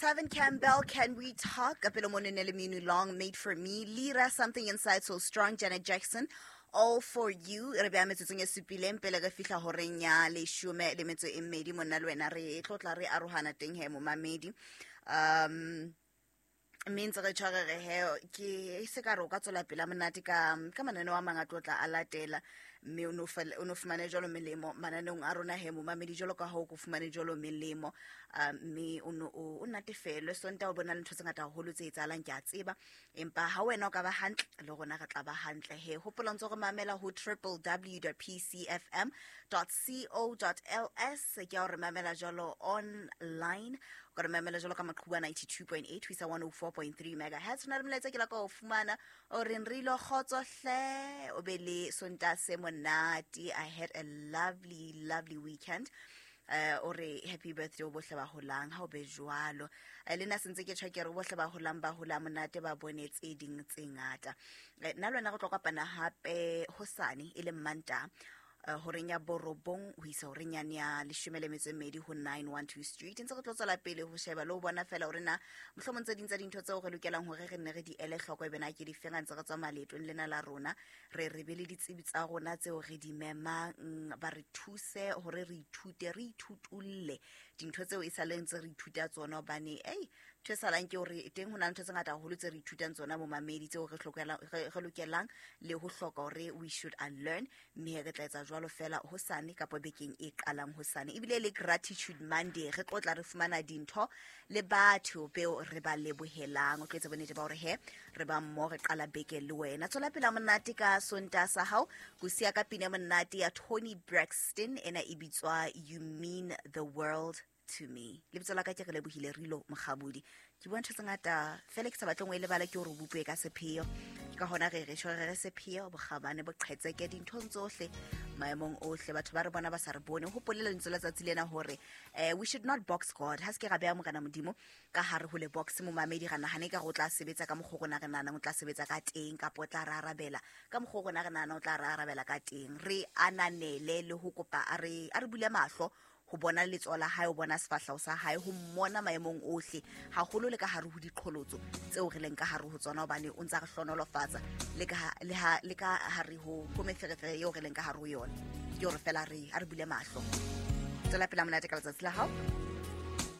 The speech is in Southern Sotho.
Tevin Campbell, Can We Talk? Kapelo Monene Leminu Long, Made For Me. Lira, Something Inside So Strong, Janet Jackson, All For You. Re beya metsotsong e supileng pele re fihla horeng ya leshome le metso e mmedi. Monna le wena re tlotla re arohana teng he, momamedi. Mme ntse re tshware re he ke se ka re o ka tswela pele monate ka mananeo a mang a tlotla a latela, mme o no fumane jwalo melemo mananeong a rona he, momamedi, jwalo ka ha o ko fumane jwalo melemo. Mme o no o natefelwe Sontaha, o bona le ntho tse ngata haholo tse etsahalang, ke a tseba, empa ha wena o ka ba hantle le rona re tla ba hantle he. Hopola ntse re mamela ho www.pcfm.co.ls. Ke a o re mamela jwalo online, o ka re mamela jwalo ka maqhubu a 92.8 ho isa 104.3 megahertz. Ho na le molaetsa ke la ka o fumana o reng re ilo kgotso hle, o be le Sontaha se monate. I had a lovely, lovely weekend. O re happy birthday o bohle ba holang, ha o be jwalo. Le nna sentse ke tjho ke re bohle ba holang ba hola monate, ba bone tse ding tse ngata. Nna le wena re tlo kopana hape hosane e leng Mantaha, horeng ya 9 ho isa horeng yane ya 12 ho 912 Street. Ntse re tlo tswela pele ho sheba le ho bona fela hore na mohlomong tse ding tsa dintho tseo re lokelang hore re nne re di ele hloko e bena ke di feng ha ntse re tswa maletong lena la rona. Re be le ditsebi tsa rona tseo re di memang, ba re thuse hore re ithute, re ithutulle dintho tseo e sa leng tse re ithuta tsona, hobane ei ntho e salang ke hore teng ho na le ntho tse ngata haholo tse re ithutang tsona momamedi, tseo re lokelang le ho hloka hore we should unlearn, mme re tla etsa jwalo fela hosane kapa bekeng e qalang hosane. Ebile le Gratitude Monday re tlo tla re fumana dintho le batho beo re ba lebohelang. O tlo etsa bonnete ba hore he re ba mmoho, re qala beke le wena. Tswela pela monate ka Sontaha sa hao, ko siya ka pina monate ya Toni Braxton, ena e bitswa You Mean the World to Me. Lebitso la ka ke re lebohile Rilo Mokgabudi. Ke bua ntho tse ngata fela ke sa batleng ho e lebala, ke hore o bopue ka sepheo. Ke ka hona re re tjho re re sepheo, bokgabane, boqhetseke dinthong tsohle, maemong ohle. Batho ba re bona ba sa re bone. Hopole lentswe la tsatsi lena hore we should not box God. Ha se ke ra beha Morena Modimo ka hare ho le box, momamedi, ra nahane ka re o tla sebetsa ka mokgwa rona re nahanang o tla sebetsa ka teng, kapa o tla re arabela ka mokgwa rona re nahanang o tla re arabela ka teng. Re ananele le ho kopa a re bule mahlo ho bona letsoho la hae, ho bona sefahleho sa hae, ho mmona maemong ohle, haholo le ka hare ho diqholotso tseo re leng ka hare ho tsona, hobane o ntsa re hlonolofatsa le ka hare ho meferefere eo re leng ka hare ho yona. Ke hore fela a re bule mahlo. Tswela pele monate ka letsatsi la hao.